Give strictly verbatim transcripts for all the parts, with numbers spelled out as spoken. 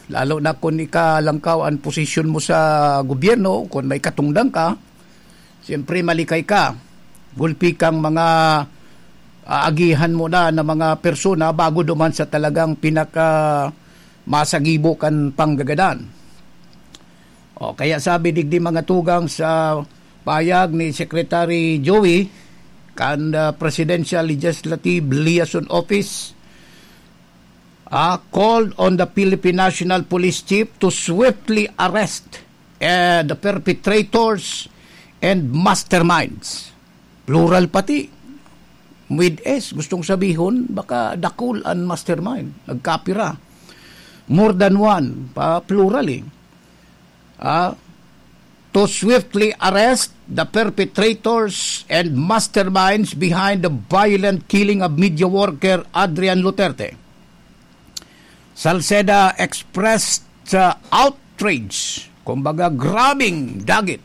Lalo na kung ikalangkaw ang posisyon mo sa gobyerno, kung may katungdan ka, siyempre malikay ka. Gulpi kang mga aagihan mo na na mga persona bago duman sa talagang pinaka masagibo kan panggagadan. O, kaya sabi digdi mga tugang sa payag ni Secretary Joey kan, ah, Presidential Legislative Liaison Office, ah, called on the Philippine National Police Chief to swiftly arrest, eh, the perpetrators and masterminds. Plural pati. With S, gustong sabihon, baka dakul an mastermind. Nagkapira. More than one, pa plural eh. Ah, to swiftly arrest the perpetrators and masterminds behind the violent killing of media worker Adrian Luterte. Salceda expressed, uh, outrage, kumbaga grabing dagit,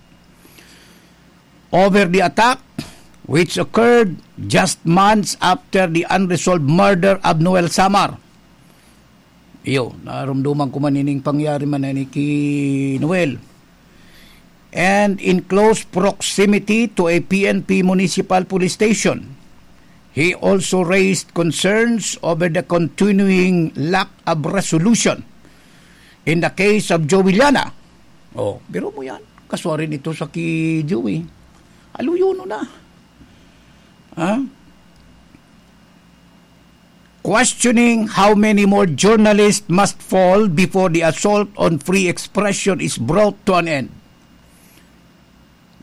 over the attack which occurred just months after the unresolved murder of Noel Samar. Iyo, narumduman ko man ining pangyari man na ni ki Noel. And in close proximity to a P N P municipal police station. He also raised concerns over the continuing lack of resolution in the case of Joey Llana. Oh, pero mo yan. Kaswa rin ito sa ki Joey. Aluyono na. Ha? Questioning how many more journalists must fall before the assault on free expression is brought to an end.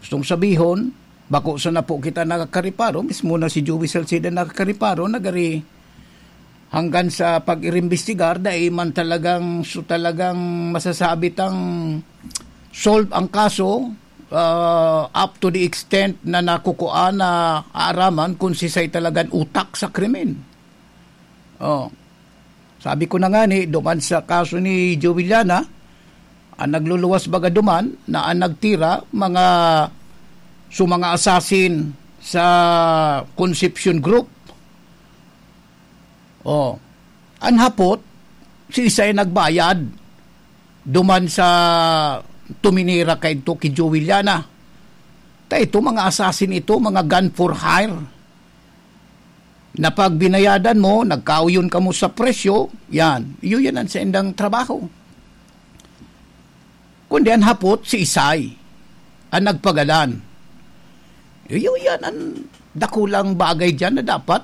Gustong sabihon, bako sana po kita nakakariparo, mismo na si Joey Salceda nakakariparo, nagari hanggang sa pag-iimbestigar, dai man talagang, so talagang masasabi tang solve ang kaso, ah, up to the extent na nakukuha na aaraman kung sisay talagang utak sa krimen. Oh. Sabi ko na nga ni, duman sa kaso ni Joey Llana, ang nagluluwas baga duman na ang nagtira, mga, so mga assassin sa Concepcion Group. Oh. Ang hapot, si isay nagbayad duman sa tuminira kaidto ki Joey Llana. Ta ito, mga assassin ito, mga gun for hire. Na pag binayadan mo, nagkauyon kamo sa presyo, yan. Iyo yan ang saindang trabaho. Kundi ang hapot, si isay, ang nagpagadan. Iyo yan ang dakulang bagay dyan na dapat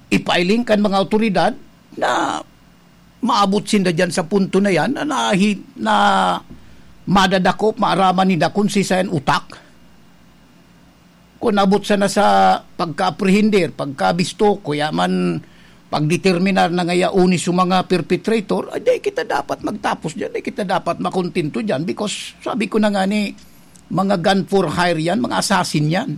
ipailing kan mga awtoridad na maabot sinda dyan sa punto na yan na nahi-, na madadakop, maaraman ninda kung sisay an utak. Kung abot sana sa pagka-apprehender, pagkabisto, kuya man pagdeterminar na ngaya uni sa mga perpetrator, ay, di kita dapat magtapos dyan, di kita dapat makontento dyan because sabi ko na nga ni, mga gun for hire yan, mga assassin yan.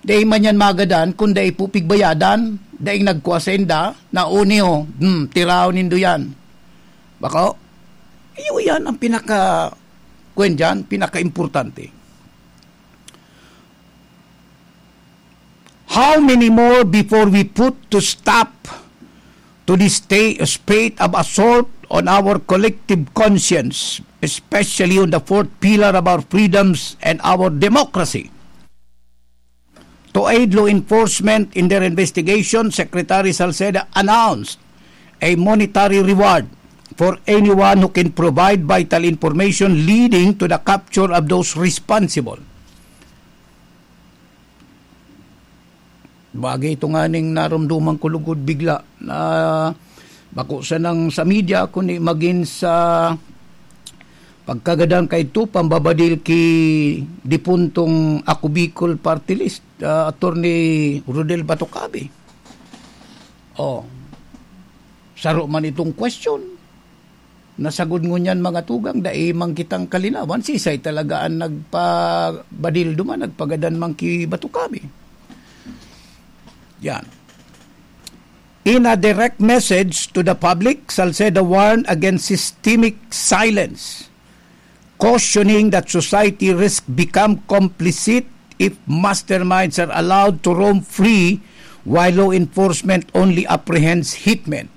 Dai man yan magadan kung dai po pigbayadan, daing nagkua sainda, na uni o, hmm, tiraw nindo yan. Bako, iyo yan ang pinaka, kwen dyan, pinaka-importante. How many more before we put to stop to this sta-, spate of assault on our collective conscience, especially on the fourth pillar of our freedoms and our democracy? To aid law enforcement in their investigation, Secretary Salceda announced a monetary reward for anyone who can provide vital information leading to the capture of those responsible. Bagay ito nga ning narumduman ko lugod bigla na bako sanang sa media, kundi magin sa pagkagadan kaidto, pambabadil ki dipuntong Ako Bicol Party List, ah, Attorney Rodel Batocabe. Oh, saro man itong question. Nasagod ngunyan, mga tugang, dai man kitang kalinawan, sisay talaga an nagpabadil duman, nagpagadan man ki Batocabe. Yan. In a direct message to the public, Salceda warned against systemic silence, cautioning that society risk become complicit if masterminds are allowed to roam free while law enforcement only apprehends hitmen.